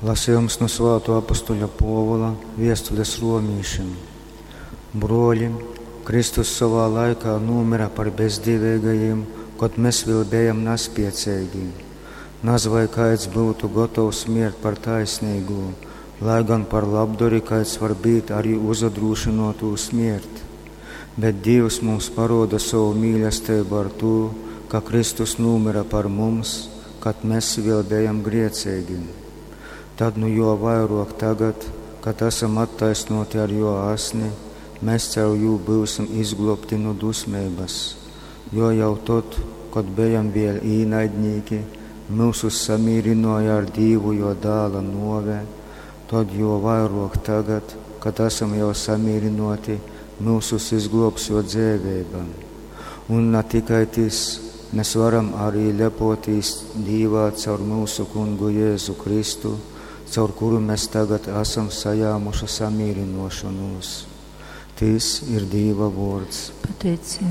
Lasījums nu Svātuo apustuļa Puovula viestules romīšim. Bruoļi, Kristus sovā laikā nūmyra par bezdīveigajim, kod mes vēl bejam naspieceigi. Naz vai kaids byutu gotovs miert par taisnīgū, lai gan par labdori kaids var būt arī uzadrūšynuotūs miert. Bet Dīvs mums paroda sovu mīlestību ar tū, ka Kristus nūmyra par mums, kad mēs vēl bejam grieceigi. Tad nu jo vairāk tagad, kad esam attaisnoti ar jo asni, mēs caur jū būsim izglobti nu dusmības. Jo jau tad, kad bejam vēl īnaidnīki, mūsus samīrinoja ar Dīvu jo dāla nove, tad jo vairāk tagad, kad esam jau samīrinoti, mūsus izglobs jo dzēvība. Un ne tikai tis, mēs varam arī lepotīs Dīvā caur mūsu kungu Jēzu Kristu, caur kuru mēs tagad esam sajāmuši samīrinošanos. Tis ir Dīva vārds. Pateicība.